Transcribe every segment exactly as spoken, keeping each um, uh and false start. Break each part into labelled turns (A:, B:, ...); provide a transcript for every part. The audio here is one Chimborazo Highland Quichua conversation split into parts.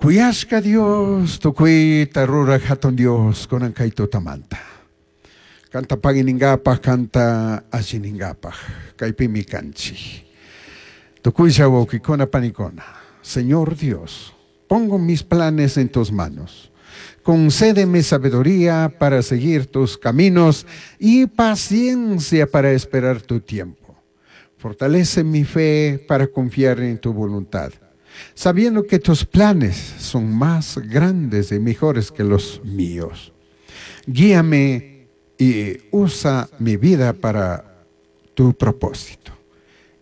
A: Kuyashka Dios, tukuyta ruraj hatun Dios, kunan kay tutamanta. Kanta paginingapaj, kanta alliningapaj, kaypimi kanchik. Tukuylla wawqikuna panikuna, Señor Dios, pongo mis planes en tus manos. Concédeme sabiduría para seguir tus caminos y paciencia para esperar tu tiempo. Fortalece mi fe para confiar en tu voluntad, sabiendo que tus planes son más grandes y mejores que los míos. Guíame y usa mi vida para tu propósito.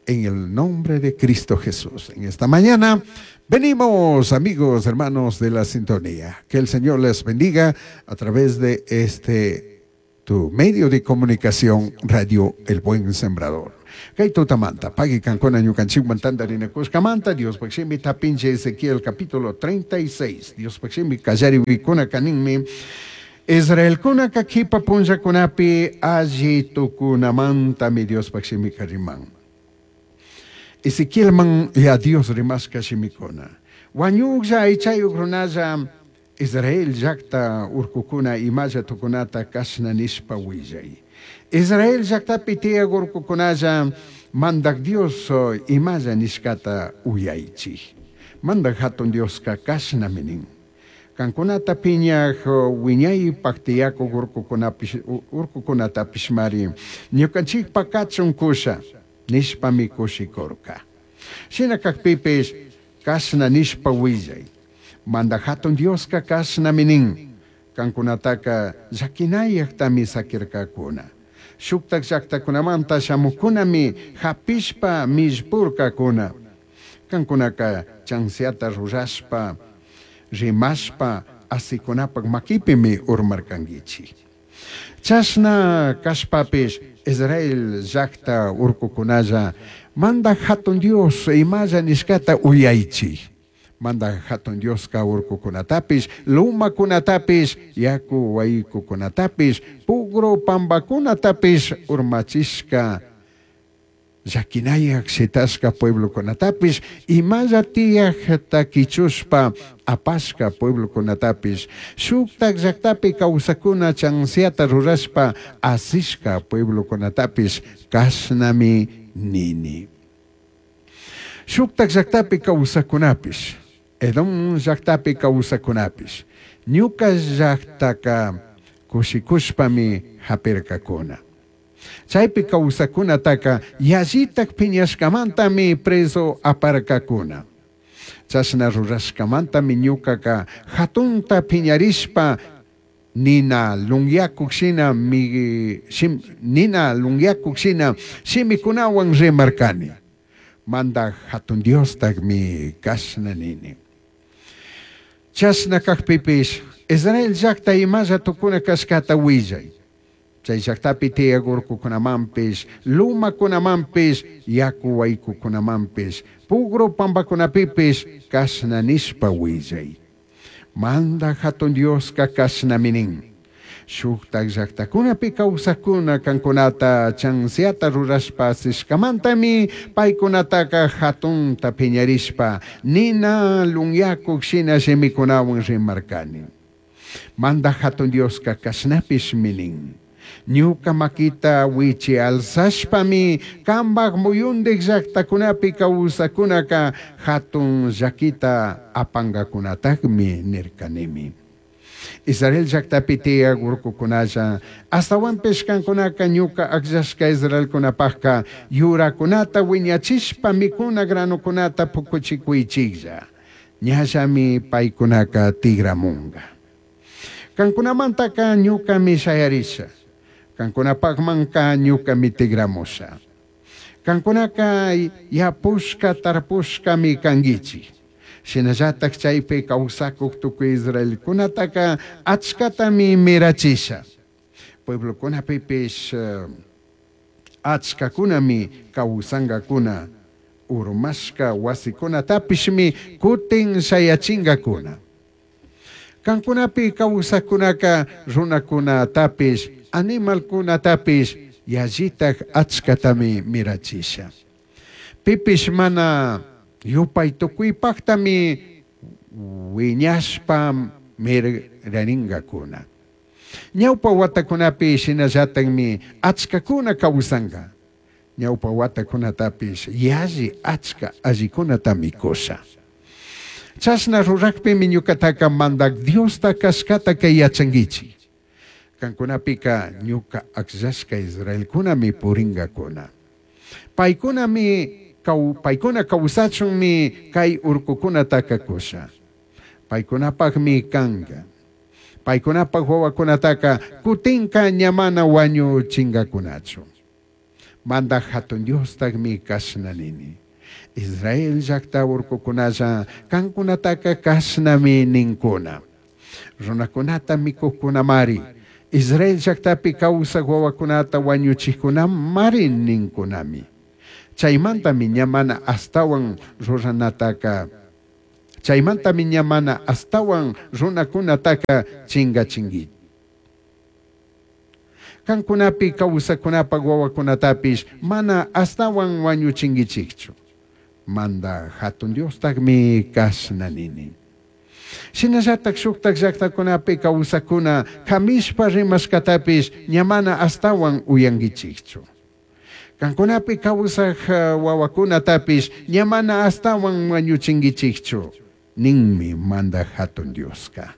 A: En el nombre de Cristo Jesús. En esta mañana venimos, amigos, hermanos de la sintonía. Que el Señor les bendiga a través de este tu medio de comunicación, Radio El Buen Sembrador. Kay tutamanta, pagui kankuna ñukanchikwan tantarinakushkamanta, Diospaj shimita pinche Ezequiel capítulo treinta y seis. Diospaj shimi kallariwikuna ninmi, Israelkunaka kipa punllakunapi alli tukunamantami Diospaj shimika riman. Ezequielman ya Dios rimashka shimikuna. Huañujlla aichayuj runalla, Israel llakta urkukuna imalla tukunata kashna nishpa willay. Israel llaktapi tiyaj urkukunalla, Mandaj Dios imalla nishkata uyaichij. Mandaj Hatun Dioska kashnami nin. Kankunata piñaj wiñaypaj tiyakuj urkukunapish urkukunatapishmari ñukanchikpa kachun kusha nishpami kushikurka. Shina kakpipish kashna nishpa willay. Mandaj Hatun Dioska kashnami nin. Kankunataka llakinayajtami sakirkakuna. Shuktak llaktakunamanta shamukunami hapishpa millpurkakuna. Kankunaka chansiata rurashpa, rimashpa, asikunapak makipimi urmarkankichik. Chashna kashpapish Israel llakta urkukunalla, Mandaj Hatun Dios imalla nishkata uyaichik. Mandaj Hatun Dioska urkukunatapish, lumakunatapish, yaku waykukunatapish, pugru pambakunatapish urmachishka llaquinayak shitashka pueblokunatapish, imalla tiyajta kichushpa apashka pueblokunatapish, shuktak llaktapi kawsakuna chansiata rurashpa asishka pueblokunatapish kashnami nini. Shuktak llaktapi kawsakunapish, Edom llaktapi kawsakunapish, ñuka llaktaka kushikushpami hapirkakuna. Chaypi kawsakunataka yallitak piñashkamantami preso aparkakuna. Chashna rurashkamantami ñukaka hatunta piñarishpa nina lunyakuk shina mi, shim, nina lunyakuk shina shimikunawan rimarkani. Mandaj Hatun Diostakmi kashna nini. Chashna kakpipish Israel llakta imalla tukuna kashkata willay. Chay llaktapi tiyaj urkukunamanpish, lumakunamanpish, yaku waykukunamanpish, pugru pampakunapipish kashna nishpa willay. Mandaj Hatun Dioska kashnami nin. Shuktak llaktakunapi kawsakuna kankunata chansiata rurashpa asishkamantami paykunataka hatunta piñarishpa nina lunyakuk shina shimikunawan rimarkani. Mandaj Hatun Dioska kashnapishmi nin. Ñuka makita wichi alzashpami kambaj muyundik llaktakunapi kawsakunaka hatun llakita apangakunatakmi nirkanimi. Israel llaktapi tiyaj urkukunalla, astawanpish kankunaka ñuka akllashka Israelkunapajka yurakunata wiñachishpa mikuna granukunata pukuchikuychiklla. Ñallami paykunaka tigramunga. Kankunamantaka ñukami shayarisha. Kankunapajmanka ñukami tigramusha. Kankunaka yapushka tarpushkami kankichik. Shinallatak chaypi kawsakuk tukuy Israelkunataka achkatami mirachisha. Pueblokunapipish uh, achkakunami kawsankakuna. Urmashka wasikunatapishmi kutin shayachingakuna. Kankunapi kawsakunaka runakunatapish, animalkunatapish yallitak achkatami mirachisha. Pipish mana yupay tukuypaktami Wiñashpa miraringacuna. Ñawpa watakunapi shinallatakmi achkakuna kawsanka. Ñawpa watakunatapish yalli achka allikunatami kusha. Chashna rurakpimi ñukataka mandak Diosta kashkataka yachankichik. Kankunapika ñuka akllashka Israelkunami purinkakuna. Paykunami paykuna kawsachunmi kay urkukunataka kusha. Paykunapakmi kanka. Paykunapak wawakunataka kutinka ña mana wañuchinkakunachu. Mandak hatun Diostakmi kashna nini. Israel llakta urkukunalla kankunataka kashnami ninkuna. Runakunata mikuqkunamari. Israel llaktapi kawsaq wawakunata wañuchikkunamari ninkunami. Chaymantami ña mana astawan ruranataka chaymantami ña mana astawan runakunataka chinkachinki. Kankunapi kawsakunapak wawakunatapish mana astawan wañuchinkichikchu. Manda hatun Diostakmi kashna nini. Shinallatak shuktak llaktakunapi kawsakuna kamishpa rimashkatapish ña mana astawan uyankichikchu. Kankunapi kawsaq wawakunatapish ña mana astawan wañuchinkichikchu ninmi mandak hatun Dioska.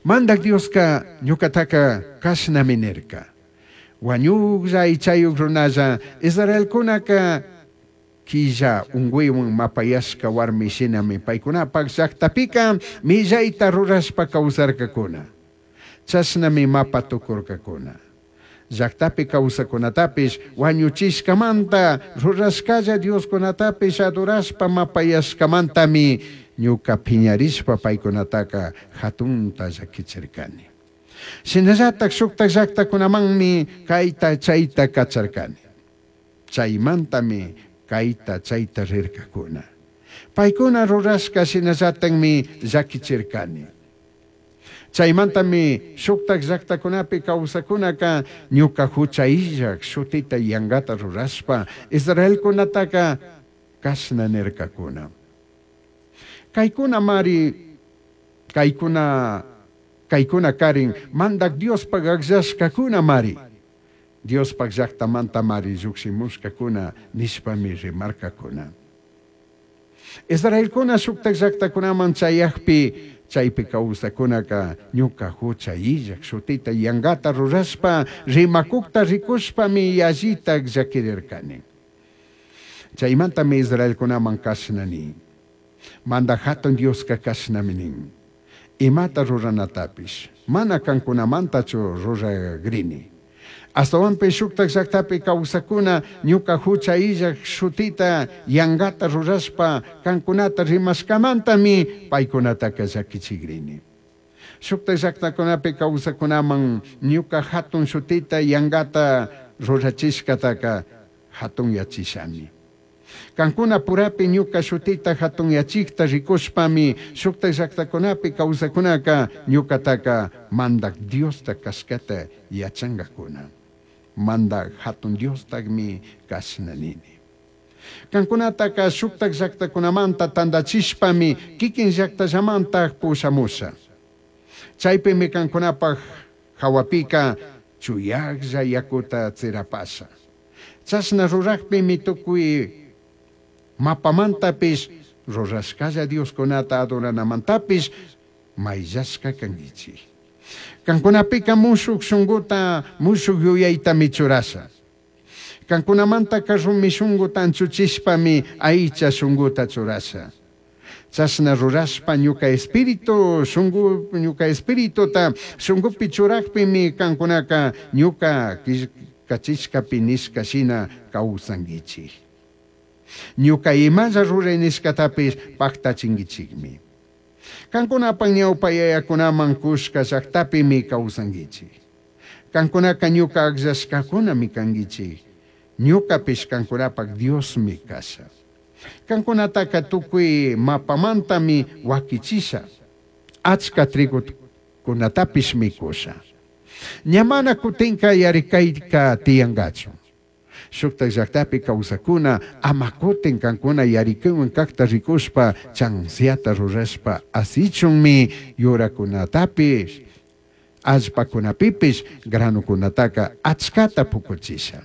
A: Mandak Dioska ñukataka kashnami nirka. Wañuklla aychayuk runalla Israelkunaka killa unkuywan mapayashka warmi shinami paykunapak llaktapika millayta rurashpa kawsarkakuna. Chashnami mapa tukurkakuna. Llaktapi kawsakunatapish wañuchishkamanta rurashkalla Dioskunatapish adorashpa mapayashkamantami ñuka piñarishpa paykunataka hatunta llakichirkani. Shinallatak shuktak llaktakunamanmi kayta chayta kacharkani. Chaymantami kayta chayta rirkakuna. Paykuna rurashka shinallatakmi llakichirkani. Chaymantami shuktak llaktakunapi kawsakunaka ñuka hucha illak shutita yankata rurashpa Israelkunataka kashna nirkakuna. Kaykuna mari, kaykuna, kaykuna karin mandak Diospak akllashkakuna mari. Diospak llaktamanta mari llukshimushkakuna nishpami rimarkakuna. Israelkuna shuktak llaktakunaman chayakpi chaypi kawsakunaka ñuka hucha illak shutita yankata rurashpa rimakukta rikushpami yallitak llakirirkani. Chaymantami Israelkunaman kashna nin. Mandak hatun Dioska kashnami nin. Imata ruranatapish mana kankunamantachu ruragrini. Astawanpish shuktak llaktapi kawsakuna ñuka hucha illak shutita yankata rurashpa kankunata rimashkamantami paykunataka llakichikrini. Shuktak llaktakunapi kawsakunaman ñuka hatun shutita yankata rurachishkataka hatunyachishami. Kankuna purapi ñuka shutita hatunyachikta rikushpami shuktak llaktakunapi kawsakunaka ñukataka mandak Diosta kashkata yachankakuna. Mandak hatun Diostakmi kashna nini. Kankunataka shuktak llaktakunamanta tantachishpami kikin llaktallamantak pushamusha. Chaypimi kankunapak hawapika chuyaklla yakuta tsirapasha. Chashna rurakpimi tukuy mapamantapish rurashkalla Dioskunata adoranamantapis mayllashka kankichik. Kankunapika mushuk shunkuta mushuk yuyaytami churasha. Kankunamantaka rumi shunkuta anchuchishpami aycha shunkuta churasha. Chashna rurashpa ñuka espíritu shunku ñuka espirituta shunkupi churakpimi kankunaka ñuka killkachishkapi nishka shina kawsankichik. Ñuka imalla ruray nishkatapish paktachinkichikmi. Kankunapak ñawpa yayakunaman kushka llaktapimi kawsankichik. Kankunaka ñuka akllashkakunami kankichik. Ñukapish kankunapak Diosmi kasha. Kankunataka tukuy mapamantami wakichisha. Achka trigukunatapish mikusha. Ña mana kutinka yarikayka tiyankachu. Shuktak llaktapi kawsakuna ama kutin kankuna yarikuywan kakta rikushpa chansiata rurashpa asichunmi yurakunatapish allpakunapipish granukunataka achkata pukuchisha.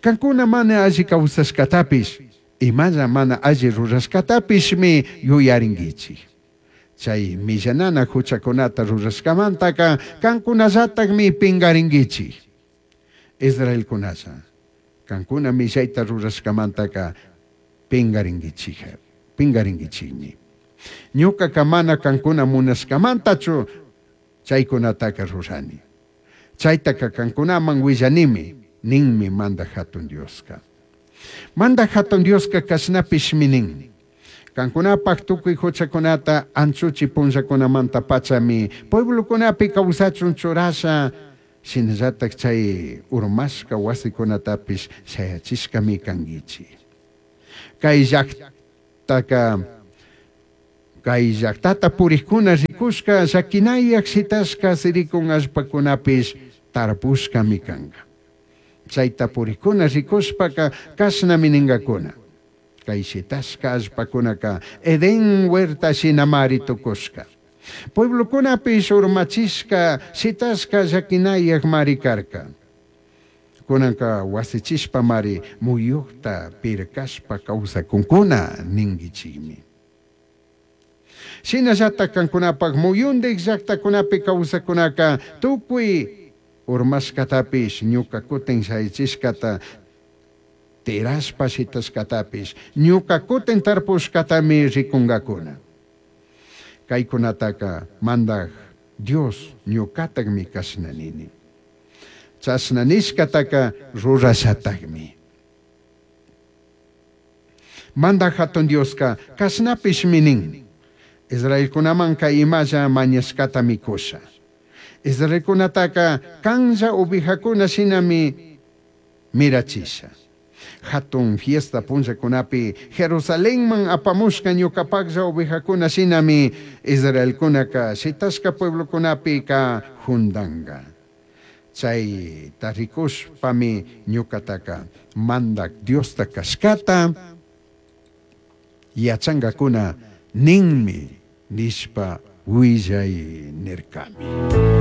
A: Kankuna mana alli kawsashkatapish imalla mana alli rurashkatapishmi yuyarinkichik. Chay millanana huchakunata rurashkamantaka kankunallatakmi pinkarinkichik. Israelkunalla kankuna millayta rurashkamantaka pinkarinkichik pinkarinkichikmi. Ñukaka mana kankuna munashkamantachu chaykunataka rurani. Chaytaka kankunaman willanimi ninmi Mandaj Hatun Dioska. Mandaj Hatun Dioska kashnapishmi nin. Kankunapaj tukuy huchakunata anchuchi punllakunamanta pachami pueblokunapi kawsachun churasha shinallatak chay urmashka wasikunatapish shayachishkami kankichik. Kay llaktaka kay llaktata purikkuna rikushka llakinayak shitashka sirikun allpakunapish tarpushkami kanka. Chayta purikkuna rikushpaka kashnami ninkakuna. Kay shitashka allpakunaka Edén huerta shinamari tukushka. Pueblokunapish urmachishka shitashka llakinayak mari karka. Kunanka wasichishpa mari muyukta pirkashpa kawsakunkuna ninkichikmi. Shinallatak kankunapak muyundik llaktakunapi kawsakunaka tukuy urmashkatapish ñuka kutin shayachishkata tirashpa shitashkatapish ñuka kutin tarpushkatami rikunkakuna. Kaykunataka Mandaj Dios ñukatakmi kashna nini. Chashna nishkataka rurashatakmi. Mandaj Hatun Dioska kashnapishmi nin. Israelkunamanka imalla mañashkatami kusha. Israelkunataka kanlla ovejakuna shinami mirachisha. Hatun fiesta punllakunapi Jerusalenman apamushka ñukapaklla ovejakuna shinami Israelkunaka shitashka pueblokunapika jundanka. Chay rikushpami ñukataka Mandak Diosta kashkata yachankakuna ninmi nishpa willay nirkami.